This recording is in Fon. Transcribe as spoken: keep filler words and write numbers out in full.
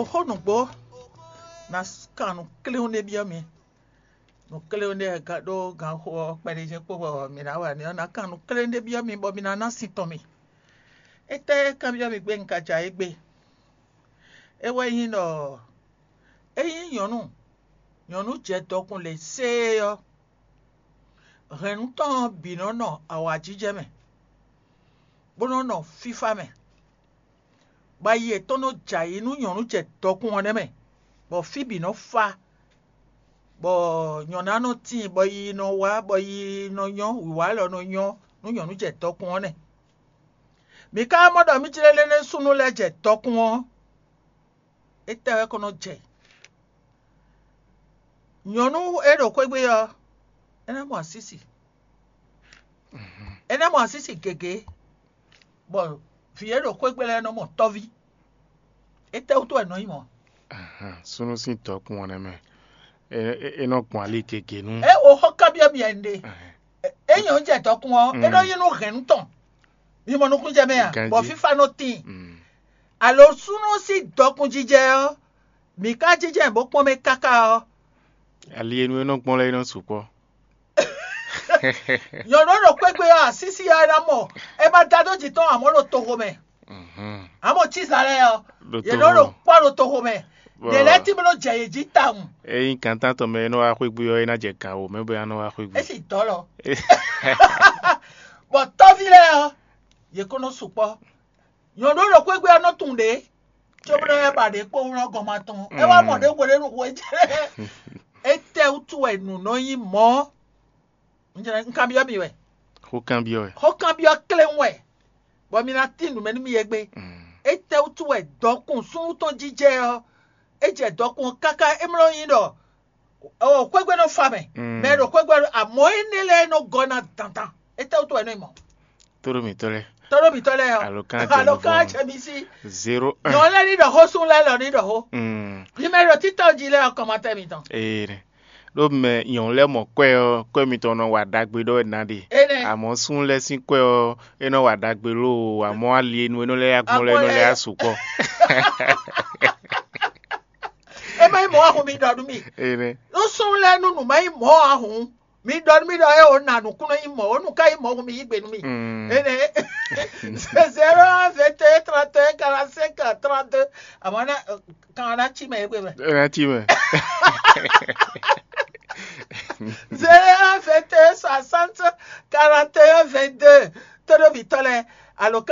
Xó nǔgbó, ná kan nǔ kléwún ɖé byɔ́ mi. Nǔ kléwún ɖé ka ɖó ganxo ɔ́ kpɛɖé jɛ́n kpó bɔ mǐ ná wa nɛ́ ɔ́, ná kan nǔ kléwún ɖé byɔ́ mi bɔ mi ná ná sin tɔn mi. Étɛ́ kanbyɔ́ mi gbé un ka ja égbé? É wɛ nyí ɖɔ ényí nyɔ̌nu nyɔ̌nu jɛ dɔkun lě séé ɔ́, hɛ̌nnu tɔn ɔ́ bǐ nɔ nɔ awǎjijɛ mɛ, bó nɔ nɔ fífá mɛ, bɔ ayi yětɔn nɔ jɛ ayǐ nú nyɔ̌nu jɛ dɔkun ɔ́ nɛ́ mɛ, bɔ fí bǐ nɔ fá, bɔ nyɔ̌ná nɔ tíin, bɔ yiyi nɔ wá, bɔ yiyi nɔ nyɔ́, wǐwá lɔ nɔ nyɔ́ nú nyɔ̌nu jɛ dɔkun ɔ́ nɛ́. Mǐ ka mɔ ɖɔ mí jlé lé nɛ́ súnnu lɛ́ɛ jɛ dɔkun ɔ́, étɛ́ wɛ ko nɔ jɛ? Nyɔ̌nu e ɖo xwégbé ɔ́, é ná mɔ asísi. É ná mɔ asísi gěgé, bɔ vǐ e ɖo xwégbé lɛ́ɛ nɔ mɔ tɔ́ví. Étɛ́wútu wɛ nɔ nyí mɔ̌? Súnnu sín dɔkun ɔ́ nɛ́ mɛ, é nɔ gbɔn ali gěgé nú. É wo xɔ kanbyɔ́ mi wɛ un ɖe. É nyɔ̌nu jɛ dɔkun ɔ́, é nɔ nyí nú hɛ̌nnu tɔn. Mi mɔ nukúnnú jɛ mɛ a? Bɔ fífá nɔ tíin. Alo súnnu sín dɔkun jijɛ ɔ́, mǐ ka jínjɔ́n bó kpɔ́n mɛ káká ɔ́, ali e nú é nɔ gbɔn lɛ́ɛ é nɔ sukpɔ́. Nyɔ̌nu e ɖo xwégbé ɔ́, asísi ɔ́ é ná mɔ, é ma da dó jǐ tɔn amɔ̌ ɖo toxo mɛ. Amɔ̌ cíza lɛ́ɛ ɔ́, yě nɔ ɖo kpɔ́ ɖo toxo mɛ. Ɖě lɛ́ɛ tí bó nɔ jɛ yě jí tawun. Ényí gǎntán tɔn mɛ e nɔ wá xwégbé ɔ́, é ná jɛ gǎn wǒ mɛ bó ná nɔ wá xwégbé. É sì dɔ́ lɔ. Bɔ tɔ́ví lɛ́ɛ ɔ́, yě ko nɔ sukpɔ́. Nyɔ̌nu e ɖo xwégbé ɔ́ nɔ tunwun ɖě, cóbó nɔ yɛ ba ɖě kpó wlɔ́ gɔn ma tɔn. É wá mɔ ɖě hweɖénu hwe jɛ. Étɛ́ wútu wɛ nǔ nɔ nyí mɔ̌? Un kanbyɔ́ mi wɛ. Xó kanbyɔ́ wɛ. Xó kanbyɔ́ kléwún wɛ, bɔ mi ná tín nǔ mɛ nú mi égbé. Étɛ́ wútu wɛ dɔkun súnnu tɔn jijɛ ɔ́, é jɛ dɔkun ɔ́ káká é mlɔ́ nyí ɖɔ xwégbé nɔ fa mɛ, mɛ e ɖo xwégbé ɔ́, amɔ̌ énɛ́ lɛ́ɛ nɔ gɔ́ ná dandan. Étɛ́ wútu wɛ nɔ nyí mɔ̌? Tóɖó mǐtɔn lɛ́ɛ. Tóɖó mǐtɔn lɛ́ɛ ɔ́, Alɔkán jɛ alo nukún kan mɛ. Jɛ mi sí. Zéro un. Nyɔ̌nu lɛ́ɛ ní ɖɔ xó, súnnu lɛ́ɛ lɔ ní ɖɔ xó. Mm. Numéro títɔn jí lɛ́ɛ ɔ́, kɔmatɛ mitɔn. Ee, ɖó mɛ nyɔ̌nu lɛ́ɛ mɔ kwɛ́ ɔ́, kwɛ́ mitɔn nɔ wa ɖagbe ɖɔ wɛ ná ɖe. Énɛ́. Amɔ̌ súnnu lɛ́ɛ sín kwɛ́ ɔ́, é nɔ wa ɖagbe lóo, amɔ̌ ali e nu é nɔ lɛ́ yá gbɔn lɛ́ɛ é nɔ lɛ́ yá sukpɔ́. É má nyí mɔ̌ ahun mi ɖɔ nú mi. Énɛ́. Nú súnnu lɛ́ɛ nú nǔ má nyí mɔ̌ ahun, mi ɖɔ nú mì ɖɔ é o na nǔkún nɔ nyí mɔ̌, ó nǔ ká nyí mɔ̌ hǔn mi yí gbe nú mì. Mm. Énɛ́. Zéro un, vingt et un, trente et un, quarante-cinq, trente-deux. Amɔ̌ ná kan ɔ́ ná cí mɛ égbé mɛ. É ná cí mɛ. Zéro un, vingt et un, soixante, quarante et un, vingt-deux. Tóɖó mǐtɔn lɛ́ɛ, alɔkán